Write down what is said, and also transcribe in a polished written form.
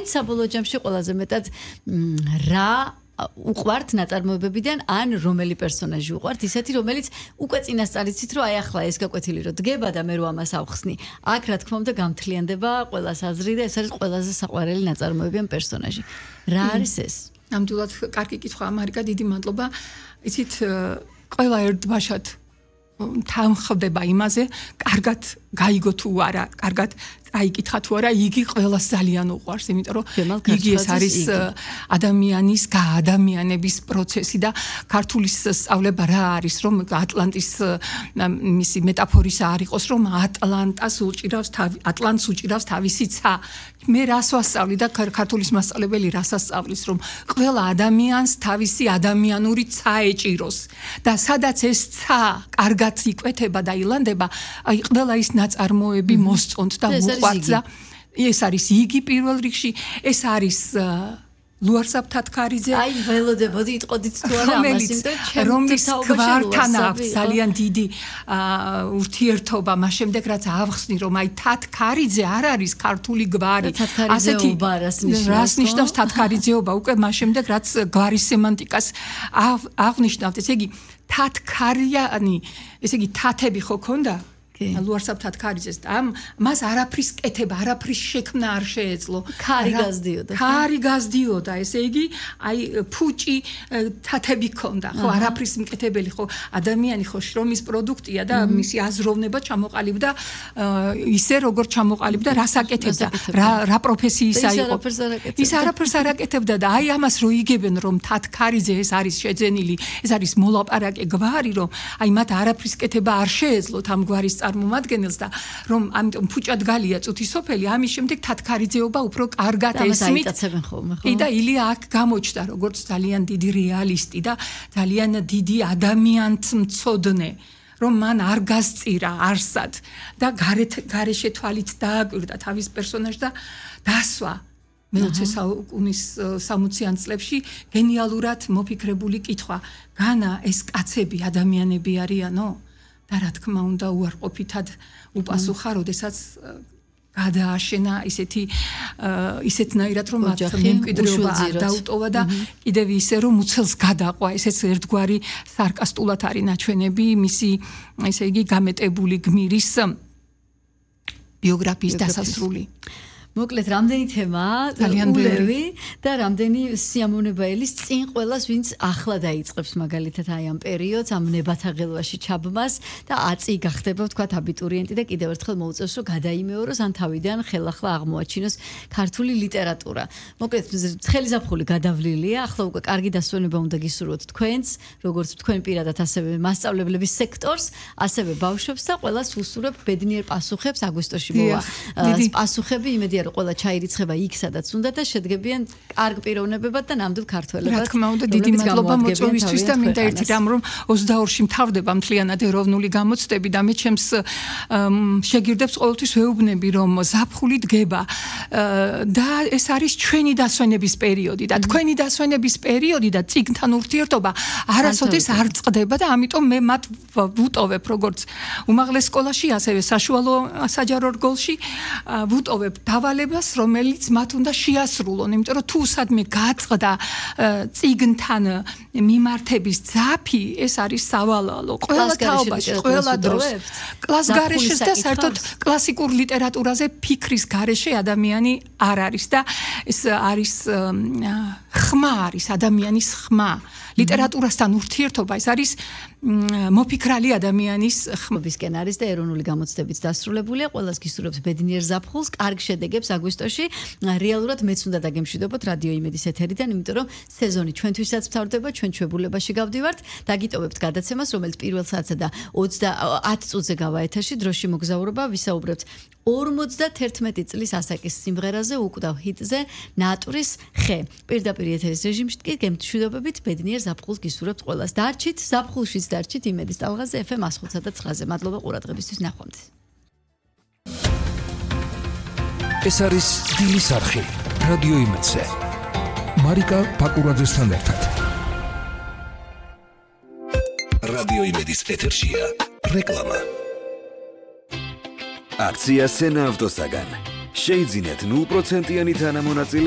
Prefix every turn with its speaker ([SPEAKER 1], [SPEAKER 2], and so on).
[SPEAKER 1] თქვენ საბოლოო ჯამში ყველაზე მეტად რა უყვართ ნაწარმოებებიდან ან რომელი პერსონაჟი უყვართ ისეთი რომელიც უკვე წინასწარ იცით რომ აი ახლა ეს გაკვეთილი რომ დგება და მე რო ამას ავხსნი აქ რა თქმა უნდა გამთლიანდება ყველას აზრი და ეს არის ყველაზე საყვარელი ნაწარმოები ან პერსონაჟი რა არის ეს
[SPEAKER 2] ნამდვილად კარგი კითხვა მარიკა დიდი მადლობა იცით ყველა ერთბაშად თანხდება იმაზე კარგად გაიგო თუ არა კარგად აიკითხა თუ არა იგი ყველას ძალიან უყვარს იმიტომ რომ იგი ეს არის ადამიანის გაადამიანების პროცესი და ქართული სწავლება რა არის რომ ატლანტის მისი მეტაფორის არ იყოს რომ ატლანტს უჭირავს თავისი ცა მე რას ვასწავლი და ქართულის მასწავლებელი რას ასწავლის რომ ყველა ადამიანს თავისი ადამიანური ცა ეჭიროს და სადაც ეს ცა კარგად იკვეთება და ილანდება აი ყველა ის ნაწარმოები მოსწონთ და უყვართ და ეს არის იგი პირველ რიგში ეს არის ლუარსაბ თათქარიძე
[SPEAKER 1] აი ველოდებოდი იტყოდით თუ არა ამას იმიტომ
[SPEAKER 2] რომლის გვართან აქვს ძალიან დიდი ურთიერთობა მას შემდეგ რაც ავხსნი რომ აი თათქარიძე არ არის ქართული გვარი
[SPEAKER 1] ასეთი
[SPEAKER 2] რას ნიშნავს თათქარიძეობა უკვე მას შემდეგ რაც გვარის სემანტიკას აღნიშნავთ ესე იგი თათქარიანი ესე იგი თათები ხო ქონდა ლუარსაბ თათქარიძეს და მას არაფრის კეთება, არაფრის შექმნა არ შეეძლო. ქარი გაზდიოდა, ესე იგი, აი ფუჭი თათები ქონდა, ხო, არაფრის მკეთებელი, ხო, ადამიანი ხო შრომის პროდუქტია და მისი აზროვნება ჩამოყალიბდა ისე როგორ ჩამოყალიბდა, რას აკეთებდა, რა პროფესიისა იყო. ის არაფერს არ აკეთებდა და აი ამას რო იგებენ რომ თათქარიძე ეს არის შეძენილი, ეს არის მოლაპარაკე გვარი, რომ აი მათ არაფრის კეთება არ შეეძლოთ ამ გვარის წარმომადგენელს და რომ ამიტომ ფუჭად გალია წუთი სოფელი ამის შემდეგ თათქარიძეობა უფრო კარგად ესმით და ილია აქ გამოჩნდა როგორც ძალიან დიდი რეალისტი და ძალიან დიდი ადამიანთმცოდნე რომ მან არ გასწირა არსად და გარეშე თვალით დააკვირდა თავის პერსონაჟს და დასვა მე-20 საუკუნის 60-იან წლებში გენიალურად მოფიქრებული კითხვა განა ეს კაცები ადამიანები არიანო და რა თქმა უნდა უარყოფითად უპასუხა, როდესაც გადააშენა ისეთნაირად რომ მათ მემკვიდრეობა არ დაუტოვა და კიდევ ისე რომ უცელს გადაყვა ესეც ერთგვარი სარკასტულად არის ნაჩვენები მისი ესე იგი გამეტებული გმირის ბიოგრაფიის დასასრული
[SPEAKER 1] მოკლედ რამდენი თემაა ულევი და რამდენი სიამოვნება ელის წინ ყველას ვინც ახლა დაიწყებს მაგალითად აი ამ პერიოდს ამ ნებათაღელვაში ჩაბმას და აწი გახდება ვთქვათ აბიტურიენტი და კიდევ ერთხელ მოუწევს რომ გადაიმეოროს ან თავიდან ხელახლა აღმოაჩინოს ქართული ლიტერატურა მოკლედ ცხელი ზაფხული გადავლილია ახლა უკვე კარგი დასვენება უნდა გისურვოთ თქვენს როგორც თქვენ პირადად ასევე მასწავლებლების სექტორს ასევე ბავშვებს და ყველას უსურვებ ბედნიერ პასუხებს აგვისტოში მოვა პასუხები იმედია რომ ყველა ჩაირიცხება იქ სადაც უნდა და შედგებიან კარგ პიროვნებებად და ნამდვილ ქართველებად.
[SPEAKER 2] რა თქმა უნდა, დიდი მადლობა მოწვევისთვის და მინდა ერთი რამ რომ 22-ში მთავრდება მთლიანად ეროვნული გამოცდები და მე ჩემს შეგირდებს ყოველთვის ვეუბნები რომ ზაფხული დგება და ეს არის ჩვენი დასვენების პერიოდი და თქვენი დასვენების პერიოდი და წიგნთან ურთიერთობა არასოდეს არ წყდება და ამიტომ მე მათ ვუტოვებ როგორც უმაღლეს სკოლაში ასევე საშუალო საჯარო რგოლში ვუტოვებ დავალებას რომელიც მათ უნდა შეასრულონ იმიტომ რომ თუ სადმე გაწყდა წიგნთან მიმართების ძაფი ეს არის სავალალო ყველა თაობაში ყველა დროს კლას გარეშეს და საერთოდ კლასიკურ ლიტერატურაზე ფიქრის გარეშე ადამიანი არ არის და ეს არის ხმა არის ადამიანის ხმა ლიტერატურასთან ურთიერთობა ეს არის მოფიქრალი ადამიანის
[SPEAKER 1] ხმებისკენ არის და ეროვნული გამოცდებიც დასრულებულია ყველას გისურვებთ ბედნიერ ზაფხულს კარგ შედეგებს აგვისტოში რეალურად მეც უნდა დაგემშვიდობოთ რადიო იმედის ეთერიდან იმიტომ რომ სეზონი ჩვენთვისაც მთავრდება ჩვენ ჩვეულებაში გავდივართ დაგიტოვებთ გადაცემას რომელიც პირველ საათსა და 10 წუთზე გავა ეთერში დროში მოგზაურობა ვისაუბრებთ 51 წლის ასაკის სიმღერაზე უკვდავ ჰიტზე ნატურის ხე პირდაპირ ეთერის რეჟიმში კი გემშვიდობებით ბედნიერ ზაფხულს გისურვებთ ყველას დარჩით ზაფხულშიც დარჩით იმედის ტალღაზე FM 105.9-ზე მადლობა ყურადღებისთვის ნახვამდის
[SPEAKER 3] ეს არის დილის არხი რადიო იმედზე მარიკა პაკურაძესთან ერთად რადიო იმედის ეთერშია რეკლამა აქცია სენა ავტოსაგან შეიძინეთ 0%-იანი თანამონაწილე